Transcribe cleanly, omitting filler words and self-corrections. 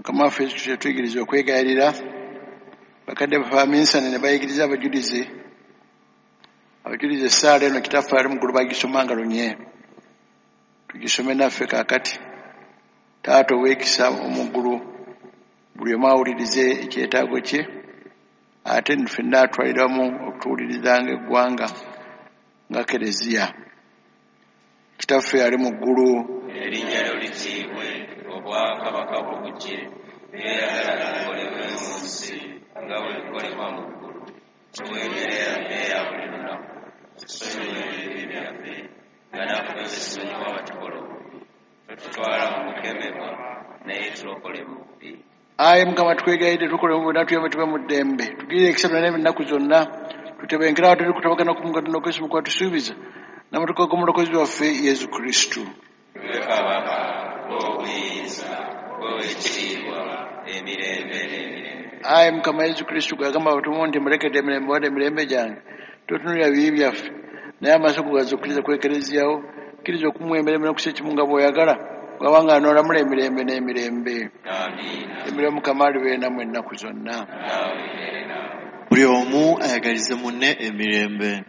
Mukama waffe Yesu Kristo yatuyigiriza okwegayirira. Bakadde baffe abaminsani ne bayigiriza abajulizi. Abajulizi essaala eno Kitaffe ali mu ggulu bagisomanga lunye. Tugisome naffe kaakati. Taata ow'ekisa omu ggulu, buli omu awulirize ekyetaago kye, ate ffenna atwalira wamu okutuwuliriza ng'eggwanga nga Kereziya. Kitaffe ali mu ggulu, erinnya lyo litiibwe, obwakabaka bwo bujje, by'oyagala bikolebwe mu nsi nga bwe bikolebwa mu ggulu. Tuwe emmere yaffe eya buli lunaku, tusonyiwe ebibi byaffe nga naffe bwe tusonyiwa abatukola obubi, totutwala mu kukemebwa, naye tulokole mu bubi. Ayi Mukama, tukwegayidde tukole mu bonna tuyambe tube mu ddembe, tugirire ekisa byonna ennaku zonna, tutebenkere awo teri kutabagana ku Katonda Okwesu kwatusuubiza n'amatuka g'omulokozi waffe Yesu Kristo. Gwe kabaka, gw'obuyinza, gw'ekitiibwa, emirembe n'emirembe. Ayi Mukama Yesu Kristo, gwe yagamba abatumwa nti mulekedde emirembe, wadde emirembe gyange, totunuulira bibi byaffe, naye amaaso go gazukkiriza ku Ekereziya wo, kkiriza okumuwa emirembe n'okussa ekimu nga bw'oyagala, bw'abanga anoolamula emirembe n'emirembe. Amiina. Emirembe Mukama alibeere nammwe ennaku zonna. Naawe beere naawe. Buli omu ayagalize munne emirembe.